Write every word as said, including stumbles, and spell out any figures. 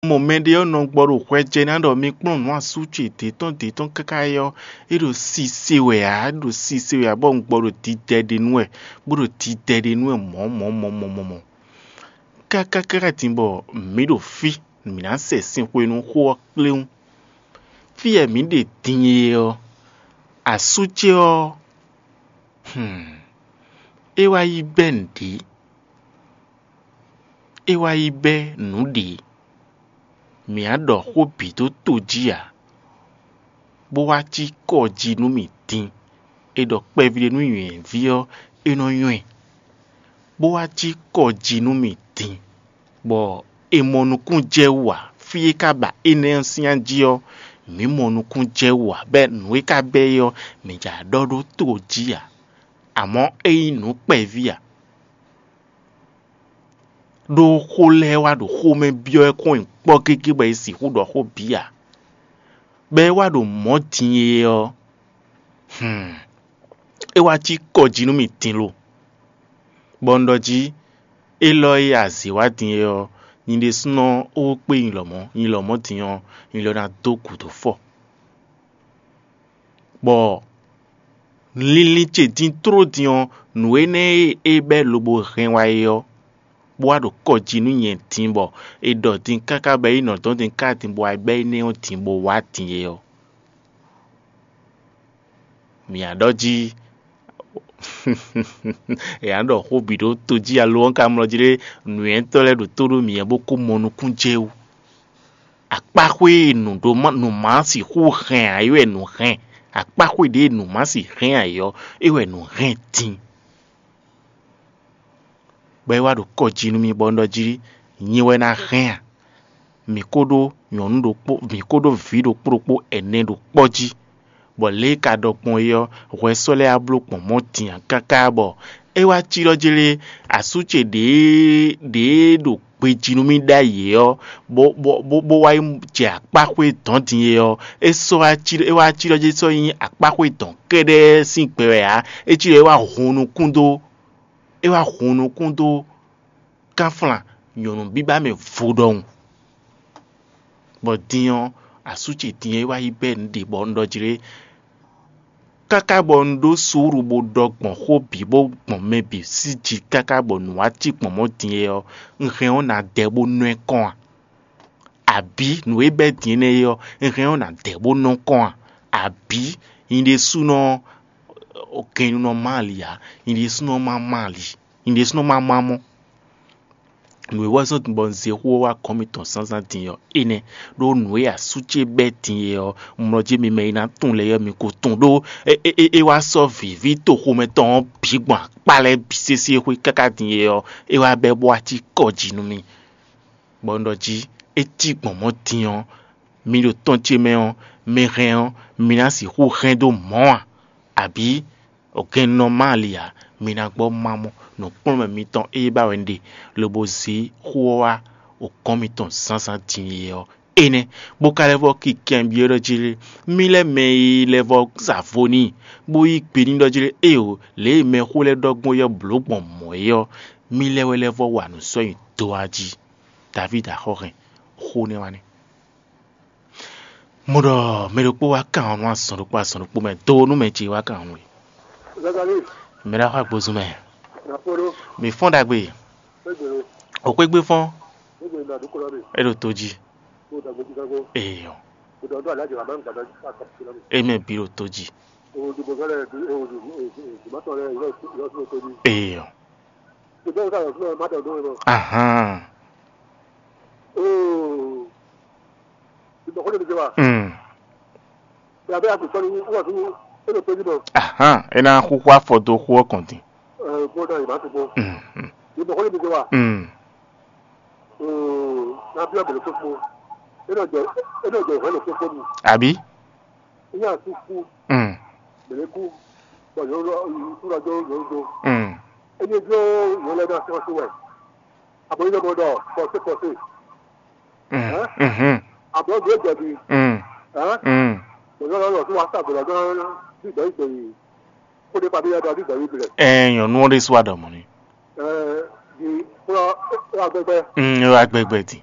Mɔ mɛɖé ɔ́ nɔ gbɔ ɖo hwɛ jɛ ná ɖɔ mi kplɔ́n nǔ asú ce dě tɔn dě tɔn káká é ɔ́, é ɖo sise wɛ ǎ, é ɖo sise wɛ ǎ, bɔ un gbɔ ɖo didɛ ɖe nú wɛ, bó ɖo didɛ ɖe nú wɛ mɔ̌ mɔ̌ mɔ̌ mɔ̌ mɔ̌ mɔ̌. Káká káká din bɔ mǐ ɖo fí, mǐ ná sɛ sin xwenu xó ɔ́ kpléwún. Fí e mǐ ɖe din e ɔ́, asú ce ɔ́, hmm, é wá yi bɛ́ nǔɖé. É wá yi bɛ́ nǔ ɖě; mǐ á ɖɔ xó bǐ dó to jí ǎ, bó wá cí kɔ jí nú mì din. È ɖɔ kpɛví ɖé nú nyɔ̌yɛ́ví ɔ́, é nɔ nywɛ́, bó wá cí kɔ jí nú mì din, bɔ è mɔ nukún jɛ wú ǎ. Fí e ka ba énɛ́ ɔ́ sín jí ɔ́, mǐ mɔ nukún jɛ wú ǎ, bɔ nǔ e ka bɛ́ é ɔ́, mǐ jǎ ɖɔ ɖó to jí ǎ; amɔ̌ é nyí nǔ kpɛví ǎ. Ɖó xó lɛ́ɛ wá ɖo xomɛ byɔ́ ɛ kɔn nyi kpɔ́ gégé bɔ è sixú ɖɔ xó bǐ ǎ. Bɔ é wá ɖo mɔ̌ din e ɔ́, hmm, é wá cí kɔ jí nú mì din lo, bɔ un ɖɔ jí: Élɔ́ e a zě wá din e ɔ́, nyi ɖésúnɔ ó kpé nyi lɔmɔ̌; nyi lɔmɔ̌ din ɔ́, nyi lɔ ná dó gǔdo fɔ. Bɔ linlin ce din tló din ɔ́, nǔ énɛ́ e é bɛ́ lobo hɛn wá é ɔ́, bó wá ɖo kɔ jí nú nyɛ din, bɔ è ɖɔ din káká bɔ é yi nɔ dɔn din ká din bó wá bɛ́ énɛ́ ɔ́ din bó wá din é ɔ́. Mǐ á ɖɔ jí è nǎ ɖɔ xó bǐ ɖó tojí alo ɔ́ ka mlɔ jí ɖé nǔnywɛ́tɔ́ lɛ́ɛ ɖo tó ɖó mǐ bó kó mɔ nukún jɛ wú. Akpáxwé e nǔ ɖó má nǔ má sixú hɛn ǎ é wɛ nǔ hɛn; akpáxwé ɖě e nǔ má si hɛn ǎ é ɔ́, é wɛ nǔ hɛn din. Bɔ é wá ɖo kɔ jí nú mì bɔ un ɖɔ jí: Nyɛ wɛ ná hɛn a? Mǐ kó ɖó nyɔ̌nu ɖokpó, mǐ kó ɖó vǐ ɖokpó ɖokpó ɛnɛ ɖo kpɔ́ jí, bɔ lě e ka ɖɔ gbɔn é ɔ́, hwɛ sɔ́ lɛ́ɛ wá bló gbɔn mɔ̌ din ǎ káká bɔ é wá cí ɖɔ jlé asú ce ɖě ɖě ɖo gbejí nú mì ɖ'ayǐ é ɔ́, bó bó bó bó wá yi jɛ akpáxwé dɔ̌n din é ɔ́, é sɔ́ wá cí é wá cí ɖɔ jí sɔ́ nyí akpáxwé dɔ̌n kɛ́ɖɛ́ sín gbɛ wɛ ǎ; é cí ɖɔ é wá hun nukún dó é wá hun nukún dó kánflán nyɔ̌nu bíbá mɛ vo ɖɔhun. Bɔ din ɔ́, asú ce din ɔ́ é wá yi bɛ́ nǔ ɖě bɔ un ɖɔ jlé. Káká bɔ un ɖó suúlu bó ɖɔ gbɔn xó bǐ bó gbɔn mɛ bǐ sí jí káká bɔ nǔ wá cí gbɔn mɔ̌ din é ɔ́, un hɛn ɔ́ ná dɛ bó nɔ ɛ kɔn a? Abǐ nǔ e bɛ́ din énɛ́ é ɔ́, un hɛn ɔ́ ná dɛ bó nɔ kɔn a? Abǐ nyɛ ɖésúnɔ ɔ́, gɛnnunɔ má ali ǎ; nyɛ ɖésúnɔ má má ali; nyɛ ɖésúnɔ má má mɔ? Nǔ e wɛ zɔ́n bɔ un zé xó ɔ́ wá gɔ̌n mitɔn zǎnzǎn din ɔ́, énɛ́ ɖó nǔ e asú ce bɛ́ din é ɔ́, mlɔ jí mi mɛ e ná tunwun lɛ́ɛ ɔ́, mi ko tunwun ɖó é é é wá sɔ́ vǐví toxomɛ tɔn ɔ́ bǐ gbɔn akpá lɛ́ɛ bǐ sésé xwé káká din é ɔ́, é wá bɛ́ bó wá cí kɔ jí nú mì. Bɔ un ɖɔ jí: É cí gbɔn mɔ̌ din ɔ́, mi ɖo tɔn ce mɛ ɔ́, mi hɛn ɔ́, mi ná sixú hɛn dó mɔ̌ a? Abǐ gɛnnɔ má ali ǎ, mi ná gbɔ má mɔ nǔkplɔ́nmɛ mitɔn e ba wɛ un ɖe, lobo zé xó ɔ́ wá okɔ́n mitɔn zǎnzǎn din é ɔ́, énɛ́, bó ka lɛ́ vɔ́ ki kɛnbyɔ́ ɖɔ jí lé: Mí lɛ́ɛ mɛ e lɛ́ vɔ́ sa vo n'i, bó yí gbe n'i ɖɔ jí lé: Éeǒ, lě e mɛxó lɛ́ɛ ɖɔ gbɔn é ɔ́ blǒ gbɔn mɔ̌ é ɔ́, mí lɛ́ɛ wɛ lɛ́ vɔ́ wa nǔ sɔ́ nyi do ɔ́ jí. Davídi axɔ́ hɛn xó nɛ́ wá nɛ́. Mo ɖɔ mɛ ɖokpó wá kan ɔ́ nú azɔn ɖokpó azɔn ɖokpó mɛ do nú mɛ ce wá kan ɔ́ nú we. Zagali, Mɛ ɖo axɔ agbozun mɛ. Napolo, Mi fɔ́n ɖagbe. Gbegbe, O xwé gbé fɔ́n. Gbegbe na ɖokolo mi. É ɖo tó jí. Mo da gbedi gago. Eyɔ. Mo da ndo alaji la ma gbada akapsula mi. Eme bi ɖo tó jí. O di bozale o di o di matɔ le yo yo to di. Eyɔ. Mo da sa yo ma da do mo. Ahan. Oo. Ìgbà kó lè mi jẹ wa. Mm. Ìgbà bẹ́ẹ̀ a kò sọ ní wọ́n tún ó lè péjú bọ̀. Ahan, é ná xúxú afɔ dó xú ɔ́ kɔn din. Ẹ bó náà ìbá tó bó. Mm, mm. Ìgbà kó lè mi jẹ wa. Mm. Ee, na bí ọ̀bẹ̀rẹ̀ tó fún. É náà jẹ é náà jẹ ìwé lè tó fún mi. Àbí? Ìyá àti kú. Mm. Bẹ̀rẹ̀ kú. Bọ̀ yóò lọ ìtura jọ yóò jọ. Mm. É ní dúró yóò lẹ́nu àti ọtí wẹ̀. Àbọ̀ yín lọ́mọdọ̀ pọ̀sí pọ̀sí. Mm. Ẹ́? Mhm. Àbọ̀ gbé jẹ̀bi. Mm. Ẹ́? Mm. Bẹ̀rẹ̀ lọ́wọ́ lọ́wọ́ tí wọ́n á sàbẹ̀rẹ̀ gan-an bí ìgbà yìí gbẹ̀yìn. Kó dé pàdé yàtọ̀ bí ìgbà yìí bẹ̀rẹ̀. Ẹ nyɔnu ɔ́ ɖésú aɖɔmɔ ni. Ẹ di kúrò ó wà gbẹgbẹ. Mm, é wá gbẹgbẹ dì.